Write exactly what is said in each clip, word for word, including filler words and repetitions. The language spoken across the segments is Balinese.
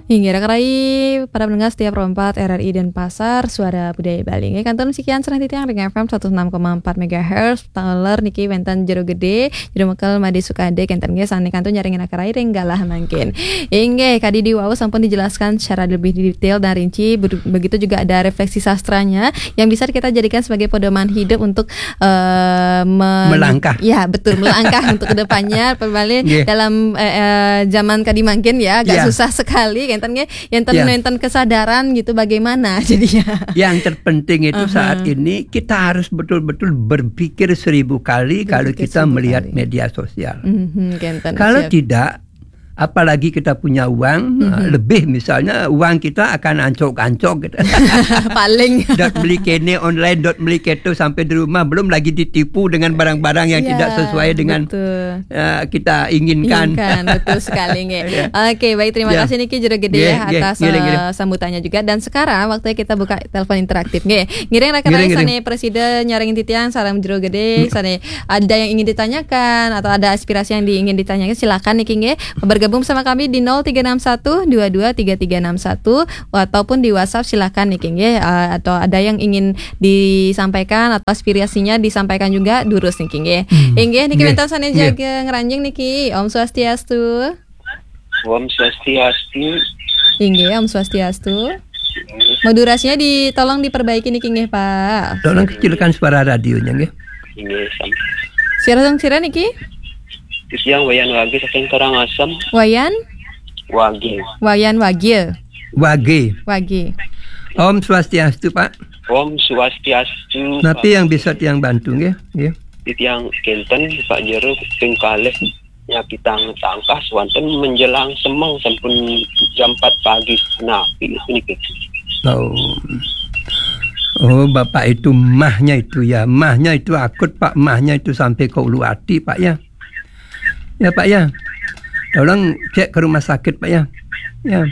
Inggih, rekan-rekan para pendengar setia Pro empat R R I Denpasar, Suara Budaya Bali. Inggih, kantun sekian sareng titiang ring F M seratus enam koma empat megahertz, taler niki wénten Jero Gedé, Jero Mekel Madé Sukadé, kénten nggih sané kantun nyarengin rekan-rekan ring galah mangkin. Inggih, kadi diwau sampun dijelaskan secara lebih detail dan rinci, be-, begitu juga ada refleksi sastranya yang bisa kita jadikan sebagai pedoman hidup untuk eh, men- Melangkah. Ya, betul, melangkah untuk kedepannya, kembali Nggih. Dalam eh, eh, zaman kadi mangkin ya, agak Ya. Susah sekali, enten nggih, enten Ya. Enten kesadaran gitu bagaimana jadinya. Yang terpenting itu Aha. Saat ini kita harus betul-betul berpikir seribu kali kalau Berpikir kita seribu melihat kali. Media sosial. Mhm, kenten, Kalau siap. Tidak, apalagi kita punya uang Mhm. eh, lebih, misalnya uang kita akan ancok-ancok gitu. Paling. Dot beli kene online, dot beli keto sampai di rumah, belum lagi ditipu dengan barang-barang yang Ya, tidak sesuai dengan betul. eh, kita inginkan. Inginkan, betul sekali nggih. Ya. Oke, baik, terima Ya. Kasih niki Jero Gedé Nggih, ya nggih, atas ngiring, eh, ngiring. Sambutannya juga. Dan sekarang waktunya kita buka telepon interaktif nggih. Ngiring rekan Ngiring, rekan ngiring. Sané presida nyarengin titiang sareng Jero Gedé, sané ada yang ingin ditanyakan atau ada aspirasi yang ingin ditanyakan, silakan niki nggih. Bergabung bersama kami di nol tiga enam satu dua dua tiga tiga enam satu ataupun di WhatsApp, silakan niki nggih. Eh, atau ada yang ingin disampaikan atau aspirasinya disampaikan juga, durus niki nggih. Hmm. Inggih niki Nggih. Wénten sané Nggih. Jaga ngranjing niki. Om Swastiastu. Om Swastiastu. Inggih, Om Swastiastu. Modulasinya ditolong diperbaiki niki nggih, Pak. Tolong kecilkan suara radionya nggih. Inggih, sam. Sira sira niki? Titiang Wayan Wage saking Karangasem. Wayan? Wage. Wayan Wage. Wage. Wage. Om Swastiastu, Pak. Om Swastiastu. Napi yang bisa tiang bantu nggih? Nggih. Titiang kénten Pak Jero ping kalih nyakitang tangkas wonten menjelang semeng sampun jam empat pagi. Napi niki? Oh. Oh, Bapak itu mahnya itu ya. Mahnya itu akut, Pak. Mahnya itu sampai ke ulu hati, Pak ya. Ya, Pak ya. Tolong cek ke rumah sakit, Pak ya. Ya.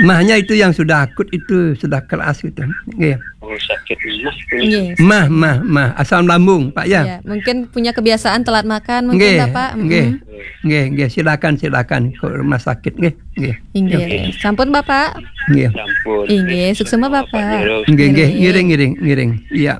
Mahnya itu yang sudah akut itu sudah keras gitu. Nggih. Oh, sakit mah. Nggih. Mah, mah, mah, asam lambung, Pak ya. Ya, mungkin punya kebiasaan telat makan mungkin Nggih, Bapak. nggih, Mm. Nggih, nggih, silakan, silakan ke rumah sakit nggih. Nggih. Inggih. Sampun Bapak? Nggih. Sampun. Inggih, suksema Bapak. Jero. Nggih, nggih, Nggih. Ngiring, ngiring, ngiring. Iya.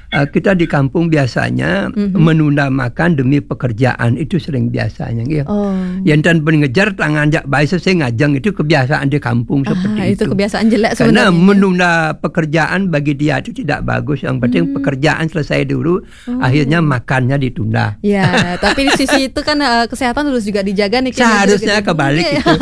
Eh, kita di kampung biasanya Mhm. Menunda makan demi pekerjaan itu sering biasanya nggih. Oh. Yang tan pun ngejar tangan jak bae sesing ngajeng, itu kebiasaan di kampung Ah, seperti itu itu. Kebiasaan jelek Karena sebenarnya. Menunda pekerjaan bagi dia itu tidak bagus. Yang penting Hmm. Pekerjaan selesai dulu, Oh. Akhirnya makannya ditunda. Ya, tapi di sisi itu kan eh, kesehatan harus juga dijaga nih. Kayaknya Seharusnya gitu. Kebalik Iya. Itu.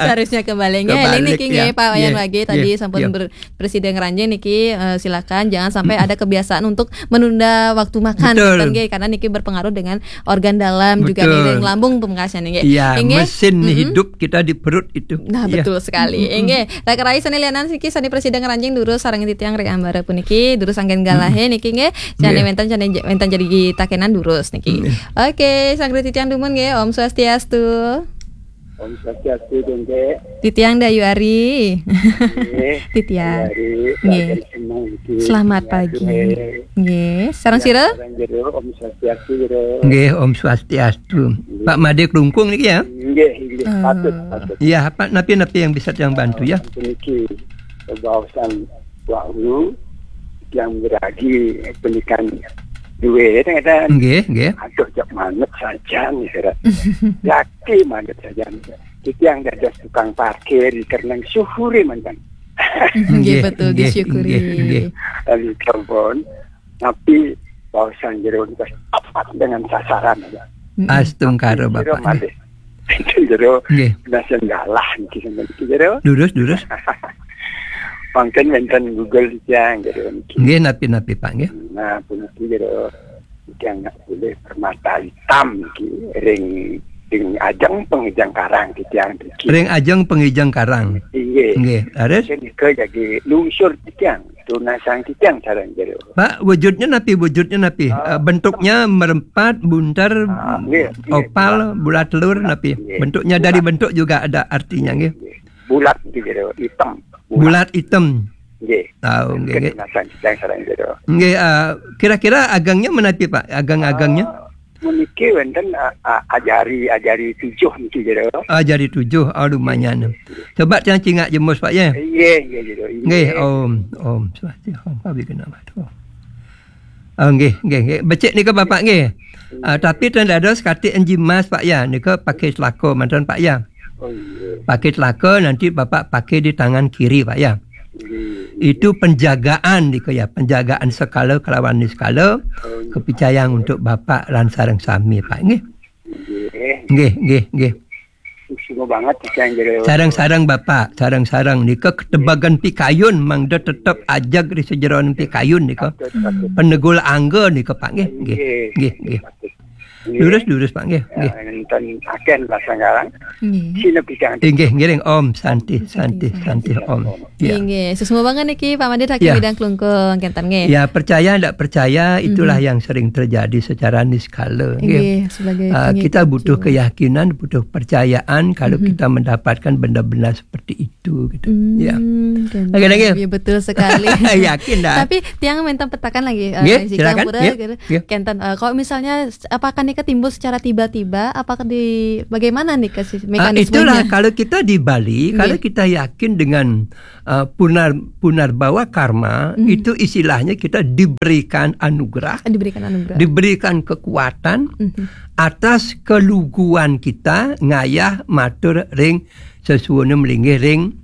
Seharusnya kebalik. Ya, Kebalik, ini niki ya. nggih, Pak Wayan Iya, Wage tadi iya, sampun iya. Ber, presiden ngeranjing niki, eh, silakan jangan sampai ada kebiasaan untuk menunda waktu makan. Betul. Kan, nggih, karena niki berpengaruh dengan organ dalam juga Betul. Ning lambung pemungkasnya niki. Iya, Inggih? Mesin Mm-mm. Hidup kita diperut itu. Nah, Iya. Betul sekali. Inggih. Lah, rai sané lianan siki sané presiden ngeranjing durus sareng titiang ring ambara puniki, durus anggén galahé niki nggih. Sané Nggih. Wénten sané j- wénten jadi takenan durus niki. Nggih. Oke, sang titiang dumun nggih, Om Swastiastu. Om Swastiastu, Dengke. Titiang Dayu Ari. Nggih. Titiang. Hari Nggih. Raden Semang, nggih. Selamat Ya, pagi. duwe. Nggih, sareng sira? Sareng Jero, Om Swastiastu, Jero. Nggih, Om Swastiastu. Pak Madé Klungkung niki ya. Nggih, nggih. Oh. Patut, patut. Iya, Pak, napi-napi yang bisa yang bantu ya? Niki baosan wau yang beragi pendidikan duwe ngeten. Nggih, nggih. Aduh, jak manut saja nih, Sira. Yaki manut saja nih. Kita yang dados tukang parkir di Kerneng syukuri mantan. Nggih, Nggih, betul, nggih, disyukuri. nggih, nggih. Lalu telepon, tapi baosan Jero niku tepat dengan sasaran aja. Mm-mm. Astungkara Jero Bapak. Malih. Jero Nggih. Nasi galah niki sampeyan niki, Jero. Durus, durus. Mungkin wonten Google titiang, Jero niki. Nggih, napi-napi Pak nggih. Nah, puniki, Jero, titiang nak boleh permata hitam niki ring ring ajeng pengijang karang titiang niki. Ring ajeng pengijang karang. Inggih. Nggih, leres. Nika jadi lungsur titiang, tunasang titiang sareng, Jero. Pak, wujudnya napi, wujudnya napi? Eh, bentuknya merempat, buntar, Ah, nggih, nggih. opal, bulat telur, Bulat, napi? nggih. Bentuknya Bulat. Dari bentuk juga ada artinya nggih. Nggih. Bulat niki, Jero, hitam. Bulat hitam. Nggih. Tahu nggih, nggih. Tunasang titiang sareng, Jero. Nggih, eh, kira-kira agangnya menapi Pak? Agang-agangnya? Ah, Meniki wenten, a-, a-, ajari, ajari tujuh niki jero. Ajari tujuh, oh, lumayan. Coba tiang cingak jemus, Pak, ya. Iya, iya, jero. Iya. Nggih, Om, Om Swastiastu, Om, Pak, bikena matu. Oh, nggih, nggih, nggih. Becik nika, Bapak, nggih. Ah, tapi ten dados kati enjimas, Pak, ya. Nika pakai selako manten, Pak, ya. Oh, iya. Pakai selako, nanti Bapak pakai di tangan kiri, Pak, ya. Iya. Itu penjagaan nika, ya, penjagaan sekala kelawan niskala, oh, iya, kepicayang untuk Bapak lan sareng sami, Pak, nggih. Nggih. Nggih, nggih, nggih. Sungguh banget, Pak, yang jero. Sareng-sareng, Bapak, sareng-sareng nika ketebagan pikayun mangda tetep ajeg ri sajeroning pikayun nika. Patut, patut. Penegul angga nika, Pak, nggih, nggih, nggih, nggih. Patut. Nggih. Lurus, lurus, Pak, nggih, ya, nggih. Enten aken lah sekarang. Nggih. Sini bidang. Inggih, ngiring, Om Santi, Santi, Santi, Santi, Santi, Om. Ya. Inggih, sesungguh banget niki, Pak Madit, Hakim, ya, Bidang Klungkung, kenten nggih. Ya, percaya ndak percaya, itulah, mhm, yang sering terjadi secara niskala, nggih. Nggih, sebagai, ah, pengikut kita butuh juga, keyakinan, butuh percayaan kalau, mhm, kita mendapatkan benda-benda seperti itu, gitu. Hmm, ya. Kenten. Oke, thank you. Ya, betul sekali. Yakin dah. Tapi tiang minta petakan lagi, eh, nggih, jika silakan, pura, nggih, gitu. Nggih. Kenten, eh, kalau misalnya s-, apakah nika timbul secara tiba-tiba, apakah di, bagaimana nika sih, ah, mekanismenya? Itulah, kalau kita di Bali, nggih, kalau kita yakin dengan, eh, punar-, punarbawa karma, mhm, itu istilahnya kita diberikan anugerah, diberikan anugerah, diberikan kekuatan, mhm, atas keluguan kita ngayah matur ring sesuwune melinggih ring,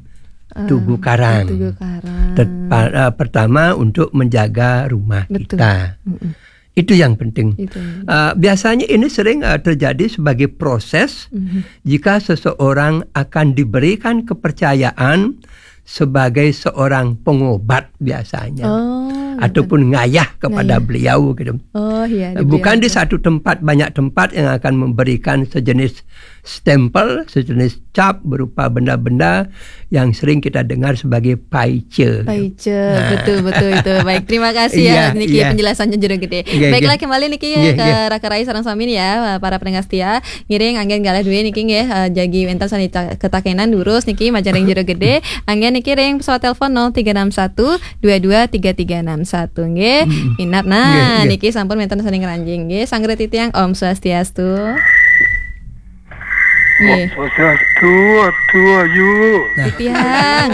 ah, Tugu Karang. Tugu Karang. Tet-, pa-, eh, pertama untuk menjaga rumah, betul, kita. Mm-mm. Itu yang penting. Itu yang penting. Eh, biasanya ini sering, eh, terjadi sebagai proses, mhm, jika seseorang akan diberikan kepercayaan sebagai seorang pengobat biasanya. Oh, gitu. Ataupun ngayah kepada, ngayah, beliau gitu. Oh, iya, eh, bukan di satu tempat, banyak tempat yang akan memberikan sejenis stempel, sejenis cap berupa benda-benda yang sering kita dengar sebagai paice. Paice, nah, betul, betul itu. Baik, terima kasih ya, iya, niki, iya, penjelasannya jero gede. Iya, baiklah, iya, kembali niki, iya, ke, iya, Raka Rai sareng sami ya, para pendengar setia. Ngiring anggen galah duwe niki nggih, eh, jagi wenten sane ta-, ketakenan durus niki majeng ring jero gede. Anggen niki ring pesawat telepon nol tiga enam satu dua dua tiga tiga enam satu nggih. Mm-mm. Minab nah, nggih, nggih, niki sampun wenten sane ngranjing nggih. Sanggre titiang, Om Swastiastu. Nggih. Om Swastiastu, Atu Ayu. Nah. Titiang.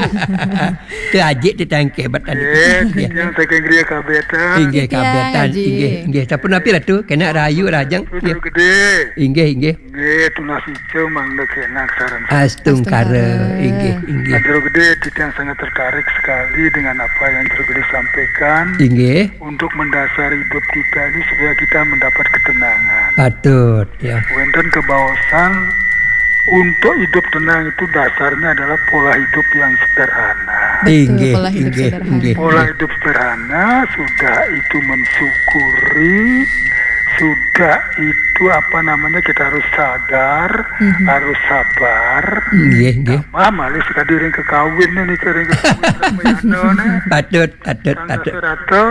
Itu ajik titiang kebat tadi. Eh, nggih, titiang saking griya Kabetan. Inggih, titiang, Kabetan. Ajik. Inggih, inggih. Sampun napi Ratu? Kena rahayu rahajeng. Jero gede. Inggih, inggih. Nggih, tunas ica mangda kenak sareng. Astungkara. Astungkara. Inggih, inggih. Jero gede, titiang sangat tertarik sekali dengan apa yang Jero gede sampaikan. Inggih. Untuk mendasar hidup kita ini supaya kita mendapat ketenangan. Patut, ya. Wenten kebaosan, untuk hidup tenang itu dasarnya adalah pola hidup yang sederhana. Betul, inggih, pola hidup, inggih, sederhana. Inggih, pola, inggih, hidup sederhana, sudah itu mensyukuri, sudah itu, apa namanya, kita harus sadar, mhm, harus sabar. Nggih, nggih. Tambah malih sekadi ring kekawin nih, ring kekawin ring Mayana nih. Patut, patut, patut. Rata,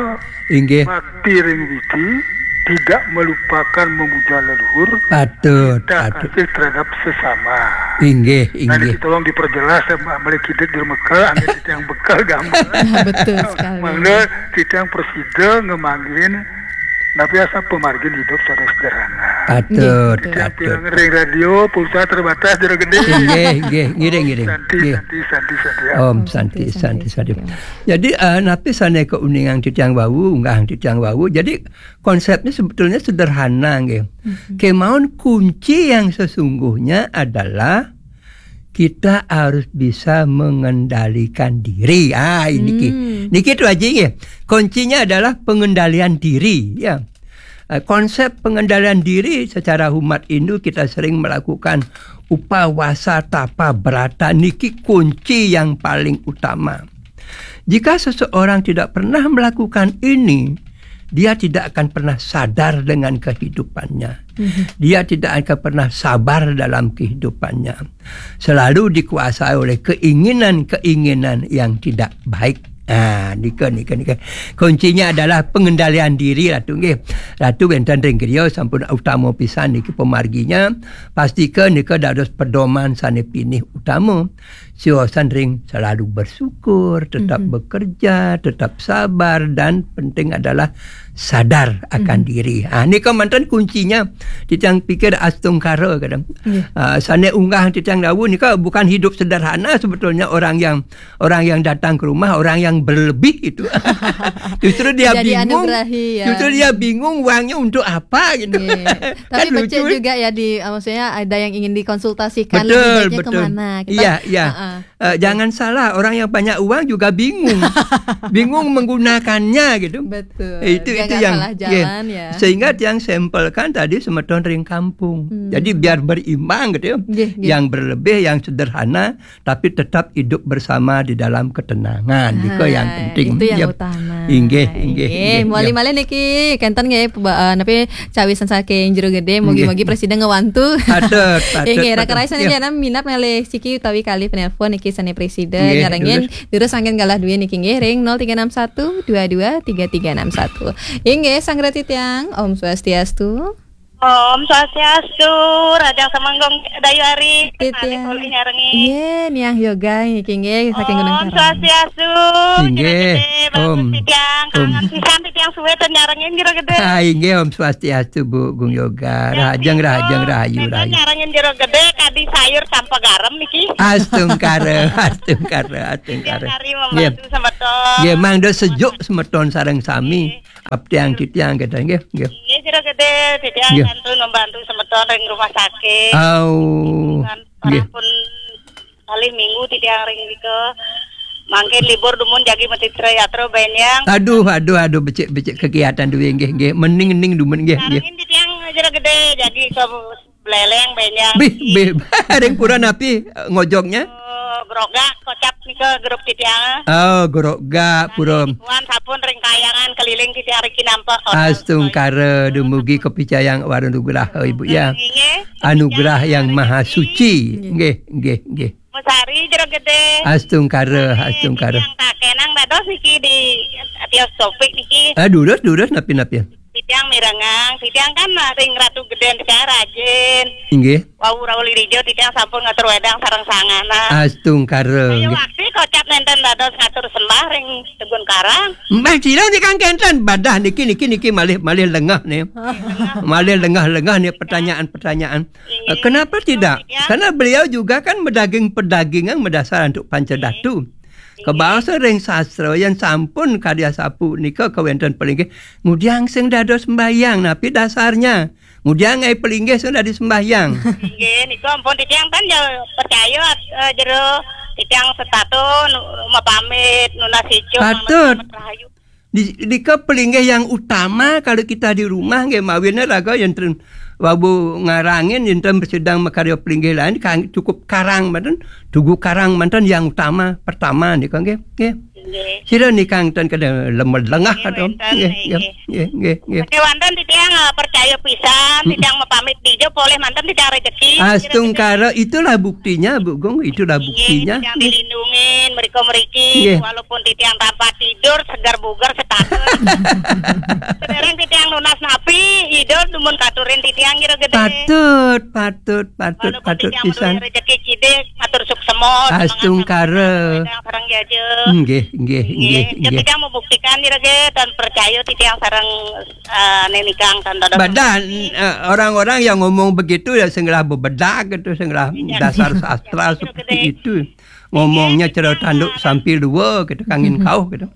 inggih, bakti ring widi, tidak melupakan memuja leluhur, patut, cinta, patut, kasih terhadap sesama. Inggih, nah, inggih, niki tolong diperjelas, ya, Mbak, malih kidik di Mekah, angin yang bekal gambar. Betul sekali. Mangda titiang prasida ngemanggihin, napi asa pamargin hidup sane sederhana. Patut, nggih, betul, patut. Titiang pirengang ring radio, pulsa terbatas, Jero gede. Inggih, inggih, ngiring, ngiring. Santi, nggih. Santi, santi, santi, ya. Om Santi, Santi, Santi, Santi, Santi. Jadi, eh, napi sane kauningang titiang wau, unggahang titiang wau. Jadi, konsepnya sebetulnya sederhana, nggih. Mhm. Kemawon kunci yang sesungguhnya adalah kita harus bisa mengendalikan diri. Ah, ini ki. Hmm. Niki tu aja, nggih. Kuncinya adalah pengendalian diri, ya. Eh, konsep pengendalian diri secara umat Hindu kita sering melakukan upawasa, tapa, brata, niki kunci yang paling utama. Jika seseorang tidak pernah melakukan ini, dia tidak akan pernah sadar dengan kehidupannya. Mhm. Dia tidak akan pernah sabar dalam kehidupannya. Selalu dikuasai oleh keinginan-keinginan yang tidak baik. Ah, nika, nika, nika. Kuncinya adalah pengendalian diri, Ratu, nggih. Ratu wenten ring griya sampun utama pisan niki pamarginya. Pastika nika dados pedoman sane pinih utama. Siosan ring selalu bersyukur, tetap, mhm, bekerja, tetap sabar, dan penting adalah sadar akan diri. Ah, nika manten kuncinya. Titiang pikir astungkara kadang. Ah, sane unggah titiang dawuh nika bukan hidup sederhana sebetulnya orang yang orang yang datang ke rumah, orang yang berlebih itu. Justru dia Jadi bingung. Justru dia bingung uangnya untuk apa gitu. Tapi kan lucu juga ya di maksudnya ada yang ingin dikonsultasikan betul, lebih baiknya betul. Kemana. Kita, iya, iya. Uh-uh. Uh, jangan salah, orang yang banyak uang juga bingung. Bingung menggunakannya gitu. Betul. Eh, itu itu yang salah jalan ya. Sehingga yang sampaikan tadi semeton ring kampung. Hmm. Jadi biar berimbang gitu ya. Gih, gih. Yang berlebih, yang sederhana, tapi tetap hidup bersama di dalam ketenangan. Nah, itu yang penting. Itu yang ya. Utama. Inggih, inggih, inggih. Muli malih niki kenten nggih napi cawisan saking Jero Gede, mugi-mugi presiden ngewantu. Patut, patut. Inggih, raka raisa niki minat malih siki utawi kali penelpon niki sane presiden nyarengin. Terus anggen galah duwe niki nggih ring nol tiga enam satu dua dua tiga tiga enam satu. Inggih, Sang Reti Tiang, Om Swastiastu. Om Swastiastu, Rajang Semenggong Dayu Ari. Titiang. Nyarengin. Inggih, Niang Yoga niki nggih saking Gunung Karang. Om Swastiastu. Inggih, Om. Titiang, kangen pisan titiang suwe ten nyarengin Jero Gede. Ah, inggih, Om Swastiastu, Bu Gung Yoga. Rahajeng, rahajeng, rahayu, rahayu. Nyarengin Jero Gede kadi sayur tanpa garam niki. Astungkara, astungkara, astungkara. Hari membantu semeton. Nggih, mangda sejuk semeton sareng sami. Abdiang titiang kita nggih, nggih. Nggih, Jero Gede, titiang kantun membantu semeton ring rumah sakit. Au. Nggih. Pun kali minggu titiang ring nika. Mangkin libur dumun jagi Metitra Yatra Benyang. Aduh, aduh, aduh, becik-becik kegiatan duwe nggih, nggih. Mening-ning dumun nggih, nggih. Sarengin titiang Jero Gede jagi ke Beleleng Benyang. Bih, bih. Ring pura napi ngojognya? Oh, Grogak kocap nika grup titiang. Oh, Grogak pura. Wan sapun ring kayangan keliling titiang riki nampak. Astungkara dumugi kapicayang wara nugraha Ibu ya. Inggih. Anugerah yang maha suci. Nggih, nggih, nggih. Mesari Jero Gede. Astungkara, astungkara. Yang tak kenang dados niki di Tios Topik niki. Ah, durus, durus, napi, napi. Titiang mirengang, titiang kan ring Ratu Geden titiang rajin. Inggih. Wau Raul Rijo titiang sampun ngatur wedang sareng sangana. Astungkara. Saya waktu kocap nenten dados ngatur sembah ring Tegun Karang. Mbah Cira niki kan kenten badah niki niki niki malih malih lengah nih. Malih lengah-lengah nih pertanyaan-pertanyaan. Inggih. Eh, kenapa tidak? Karena beliau juga kan medaging pedagingan medasar untuk panca datu. Inggih. Kebasa ring sastra yang sampun karya sapu nika kawenten pelinggih ngudiang sing dados sembahyang napi dasarnya? Ngudiang ai pelinggih sing dadi sembahyang. Inggih, nika ampun titiang kan ya percaya eh, Jero titiang setata nu- mapamit nunas ijo patut. Rahayu. Di, dika pelinggih yang utama kalau kita di rumah nggih mawinne raga yen ten wabu ngarangin yen ten sedang makarya pelinggih lain kang cukup karang manten, tugu karang manten yang utama pertama nika nggih. Nggih. Nggih. Sira nikang ten kada lemah lengah atau nggih nggih nggih nggih. Oke, wonten titiang eh, percaya pisan, titiang mapamit dijo poleh manten titiang rezeki. Astungkara itulah buktinya Bu Gung, itulah buktinya. Titiang dilindungin mereka meriki walaupun titiang tanpa tidur segar bugar setata. Sedereng titiang nunas napi, idol dumun katurin titiang Jero Gede. Patut, patut, patut, walaupun patut titiang pisan. Rezeki cidik, atur suksema. Astungkara. Sareng jaja. Nggih, nggih, nggih, nggih. Titiang membuktikan Jero Gede dan percaya titiang sareng eh, nenikang tan dados. Badan eh, orang-orang yang ngomong begitu ya senglah bebedak gitu, senglah dasar sastra seperti itu. Ngomongnya cara tanduk sambil dua gitu, kangin kau gitu.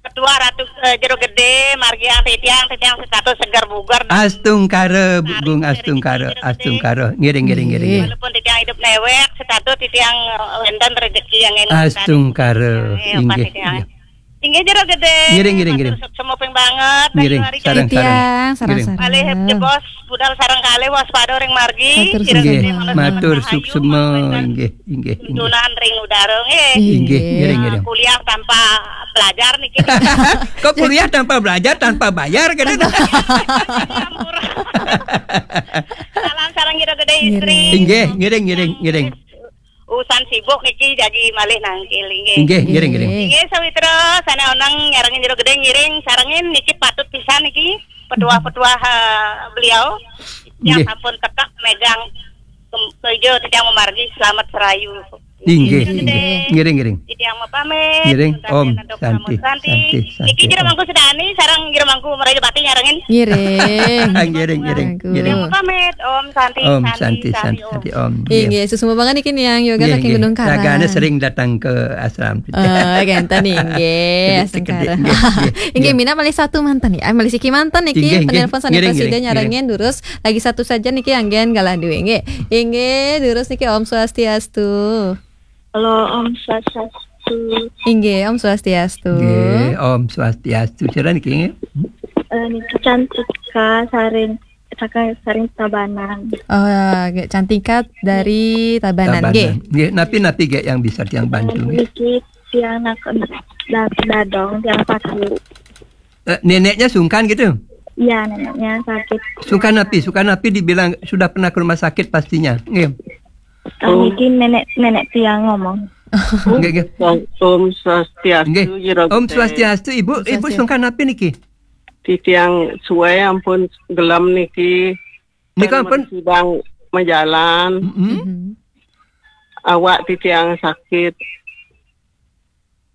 Ketua Ratu eh, Jero Gede, margiang titiang, titiang setata segar bugar. Astungkara, Bu Gung, astungkara, astungkara. Ngiring, ngiring, ngiring. Walaupun titiang hidup newek, setata titiang eh, wenten rezeki yang enak. Astungkara, inggih. Inggih Jero Gede. Ngiring, ngiring, ngiring. Semua ping banget. Ngiring, sareng, sareng. Tiang, sareng, sareng. Malih jebos budal sareng kalih waspada ring margi. Matur suksema. Inggih, matur suksema, inggih, inggih, inggih. Tuntunan ring udara nggih. Inggih, ngiring, ngiring. Kuliah tanpa belajar niki. Kok kuliah tanpa belajar, tanpa bayar gitu? Salam sareng Jero Gede istri. Inggih, ngiring, ngiring, ngiring. Usan sibuk niki jagi malih nangkil inggih. Inggih, ngiring, ngiring. Inggih sawitra sane oneng nyarengin Jero Gede ngiring sarengin niki patut pisan niki petuah-petuah eh, beliau yang sampun tekak megang kem- kejo titiang memargi selamat serayu. Inggih, inggih. Ngiring, ngiring. Titiang mapamit. Ngiring. Om Santi, Santi, Santi. Niki jero mangku sedani sareng jero mangku merayu pati nyarengin. Ngiring. Ah, ngiring, ngiring, ngiring. Titiang mapamit. Om Santi, Om Santi, Santi, Santi, Om. Santi, Om. Inggih, suksma banget niki Niang Yoga saking Gunung Karang. Ragane sering datang ke ashram. Oh, genten inggih. Inggih, minab malih satu manten ya. Malih siki manten niki penelpon sané presida nyarengin durus. Lagi satu saja niki anggen galah duwe nggih. Inggih, durus niki Om Swastiastu. Halo, Om Swastiastu. Inggih, Om Swastiastu. Nggih, Om Swastiastu. Sira niki nggih? Eh, niki Cantika saring saking saring Tabanan. Oh, nggih, Cantika dari Tabanan nggih. Nggih, napi-napi nggih yang bisa tiang bantu nggih? Niki tiang nak da- dadong, tiang sakit. Eh, neneknya sungkan gitu? Iya, neneknya sakit. Sungkan napi? Sungkan napi dibilang sudah pernah ke rumah sakit pastinya. Nggih. Ah, niki nenek nenek tiang ngomong. Nggih, nggih. Om Swastiastu, nggih. Jero Om Swastiastu, Ibu. Ibu sungkan napi niki? Titiang suwe ampun gelem niki. Nika ampun sidang majalan. Mm-mm. Awak titiang sakit.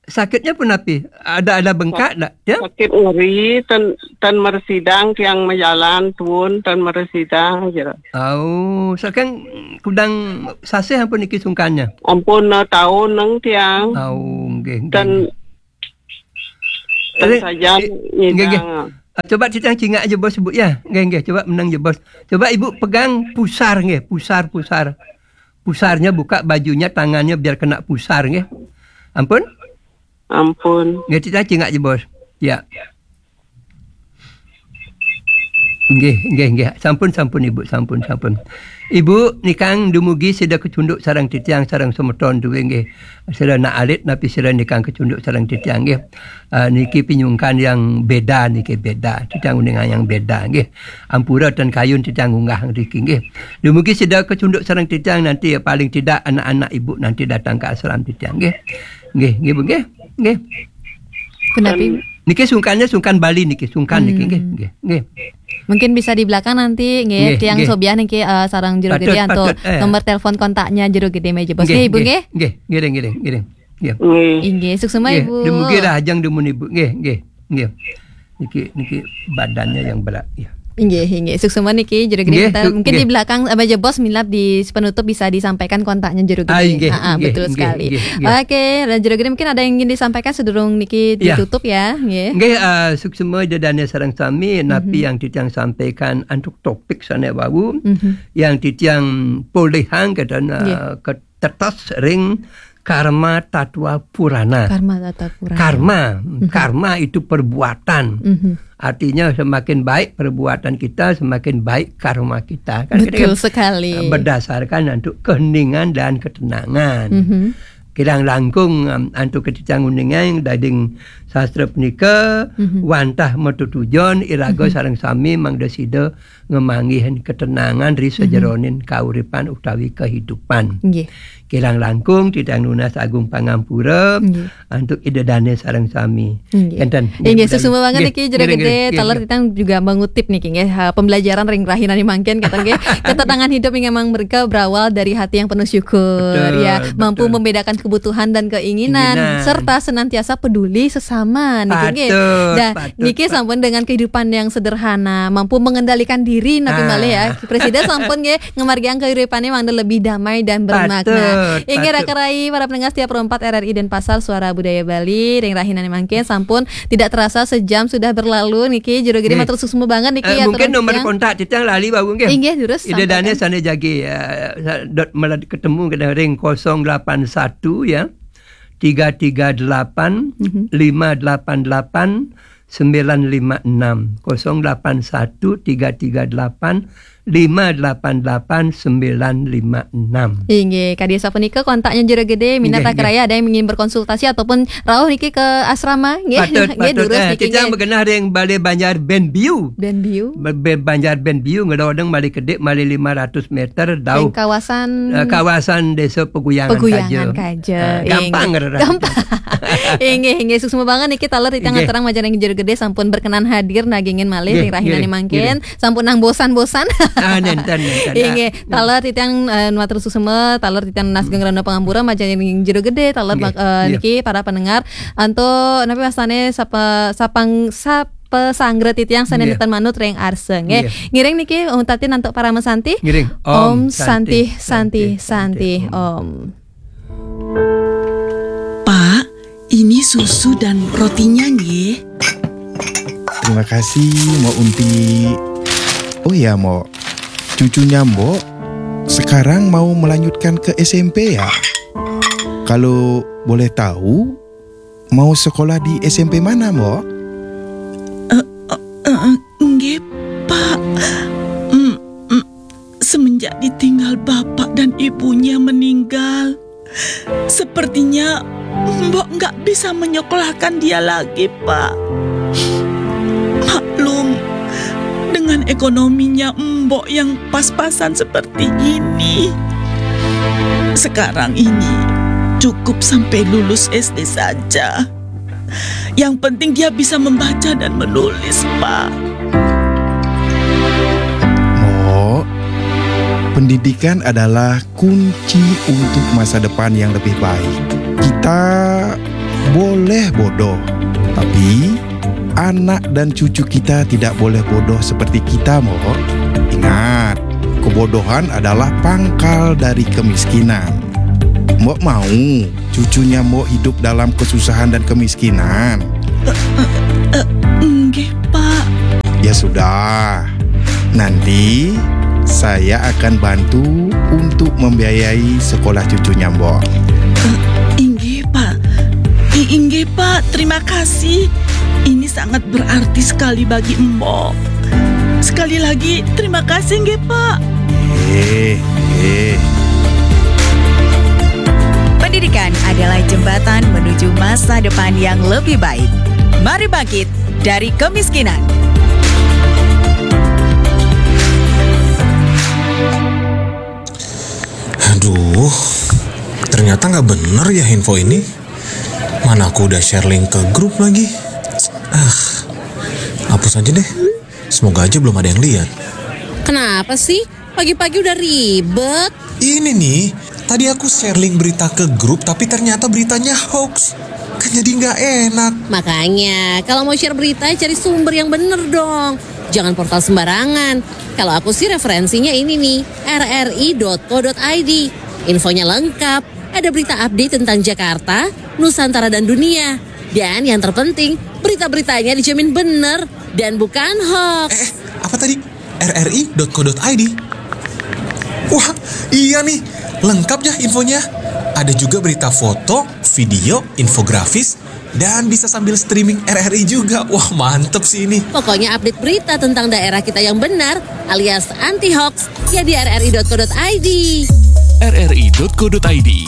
Sakitnya pun napi? Ada ada bengkak dak? Ya? Sakit nyeri, ten ten meresidang tiang majalan tuun ten meresidang jero. Oh, saking kudang sasih ampun niki sungkannya. Ampun eh, taun neng tiang. Oh, nggih, nggih. Ten ten sajan nyidang. Ah, coba titiang cingak aja bos bu ya. Nggih, nggih, coba menang aja bos. Coba ibu pegang pusar nggih, pusar pusar. Pusarnya buka bajunya, tangannya biar kena pusar nggih. Ampun? Ampun. Nggih, titiang cingak aja bos. Ya. Nggih, nggih, nggih. Sampun, sampun Ibu, sampun, sampun. Ibu nikang dumugi sida kecunduk sareng titiang sareng semeton duwe nggih. Sira nak alit napi sira nikang kecunduk sareng titiang nggih. Ah, niki pinyungkan yang beda niki beda. Titiang uningan yang beda nggih. Ampura ten kayun titiang unggah ngriki nggih. Dumugi sida kecunduk sareng titiang nanti ya paling tidak anak-anak Ibu nanti datang ke ashram titiang nggih. Nggih, nggih Bu nggih. Nggih. Punapi? Niki sungkannya sungkan Bali niki, sungkan niki nggih, nggih, nggih. Mungkin bisa di belakang nanti nggih, tiang sobiah niki eh, sareng jero gede atau nomor telepon kontaknya jero gede meja bos. Nggih, Ibu nggih. Nggih, ngiring, ngiring, ngiring. Nggih. Inggih, suksema Ibu. Dumugi rahajeng dumun Ibu. Nggih, nggih, nggih. Niki niki badannya yang berat ya. Inggih, inggih. Suksema niki jero gede mungkin di belakang eh, meja bos minab di penutup bisa disampaikan kontaknya jero gede. Ah, inggih, inggih, betul sekali. Oke, dan jero gede mungkin ada yang ingin disampaikan sedurung niki ditutup ya, nggih. Nggih, eh, suksema ida dane sareng sami napi yang titiang sampaikan antuk topik sane wau yang titiang polihang kata eh, ketetes ring karma tatwa purana. Karma tatwa purana. Karma, karma itu perbuatan. Artinya semakin baik perbuatan kita, semakin baik karma kita. Kan kita Betul kan, sekali. eh, Berdasarkan untuk keheningan dan ketenangan. Kirang langkung em, antuk ketitiang uningan dading sastra punika wantah metutujon iraga sareng sami mangda sida ngemanggihin ketenangan ri sajeroning kauripan utawi kehidupan. Nggih. Kirang langkung titiang nunas agung pangampura antuk ida dane sareng sami. Nggih. Enten. Inggih, suksma banget niki jero gede taler titiang juga mengutip niki nggih ha, pembelajaran ring rahinane mangkin kata nggih. Ketenangan hidup yang emang mereka berawal dari hati yang penuh syukur ya, mampu membedakan kebutuhan dan keinginan serta senantiasa peduli sesama niki nggih. Dah niki sampun dengan kehidupan yang sederhana, mampu mengendalikan diri napi malih ya. Presida sampun nggih ngemargiang kehidupannya mangda lebih damai dan bermakna. Inggih raka rai para pendengar setia Pro empat R R I Denpasar Suara Budaya Bali ring rahinane mangkin sampun tidak terasa sejam sudah berlalu niki jero gede matur suksma banget niki. Eh, mungkin nomor kontak titiang lali wau nggih. Inggih durus. Ida dane sane jagi eh, sa- dot melad ketemu kena ring kosong delapan satu ya. Tiga tiga delapan lima delapan delapan sembilan lima enam. Kosong delapan satu tiga tiga delapan lima delapan delapan sembilan lima enam. Inggih, kadi sapunika kontaknya jero gede minat raka rai ada yang ingin berkonsultasi ataupun rauh niki ke asrama nggih. Patut, nggih patut. Durus eh, niki kita nggih. Begenah ring Balai Banjar Benbiu. Benbiu. Ba- Ba- Banjar Benbiu ngerodong malih kedip malih lima ratus meter dauh. Ring kawasan eh, kawasan Desa Peguyangan Peguyangan kaja. Kaja. Eh, gampang ngerti. Gampang. Inggih, inggih, suksma banget niki taler titiang ngaturang majeng ring Jero Gede sampun berkenan hadir nagingin malih ring rahinane mangkin. Sampun nang bosan-bosan. Ah, nenten, nenten. Inggih, taler titiang, eh, matur suksma, taler titiang nunas geng rena pangampura majeng ring Jero Gede, taler bak-, eh, niki para pendengar. Antuk napi wastane sapa, sapang, sapasanggra titiang sane nenten manut ring arsa, nggih. Ngiring niki, eh, tatin antuk parama santi. Ngiring. Om Santi, Santi, Santi, Om. Pak, ini susu dan rotinya, nggih. Terima kasih, Mbok Unti. Oh ya, Mbok. Cucunya Mbok sekarang mau melanjutkan ke S M P ya? Kalau boleh tahu, mau sekolah di S M P mana, Mbok? Eh, eh, eh, nggih, Pak. Mm, mm, semenjak ditinggal bapak dan ibunya meninggal, sepertinya Mbok nggak bisa menyekolahkan dia lagi, Pak. Maklum, dengan ekonominya Mbok yang pas-pasan seperti ini. Sekarang ini cukup sampai lulus S D saja. Yang penting dia bisa membaca dan menulis, Pak. Mbok, pendidikan adalah kunci untuk masa depan yang lebih baik. Kita boleh bodoh, tapi anak dan cucu kita tidak boleh bodoh seperti kita, Mbok. Ingat, kebodohan adalah pangkal dari kemiskinan. Mbok mau cucunya Mbok hidup dalam kesusahan dan kemiskinan? Eh, eh, eh, nggih, Pak. Ya sudah, nanti saya akan bantu untuk membiayai sekolah cucunya Mbok. Eh, inggih, Pak. I-, inggih, Pak. Terima kasih. Ini sangat berarti sekali bagi Mbok. Sekali lagi, terima kasih, nggih, Pak. Eh, eh. Pendidikan adalah jembatan menuju masa depan yang lebih baik. Mari bangkit dari kemiskinan. Aduh, ternyata nggak bener ya info ini. Mana aku udah share link ke grup lagi. Ah, hapus aja deh. Semoga aja belum ada yang lihat. Kenapa sih? Pagi-pagi udah ribet. Ini nih, tadi aku share link berita ke grup, tapi ternyata beritanya hoax. Kan jadi nggak enak. Makanya, kalau mau share berita, cari sumber yang bener dong. Jangan portal sembarangan. Kalau aku sih referensinya ini nih, R R I dot co dot I D. Infonya lengkap. Ada berita update tentang Jakarta, Nusantara, dan dunia. Dan yang terpenting, berita-beritanya dijamin bener dan bukan hoax. Eh, eh, apa tadi? R R I dot co dot I D. Wah, iya nih, lengkap ya infonya. Ada juga berita foto, video, infografis, dan bisa sambil streaming R R I juga. Wah, mantep sih ini. Pokoknya update berita tentang daerah kita yang benar alias anti hoax ya di R R I dot co dot I D. R R I dot co dot I D.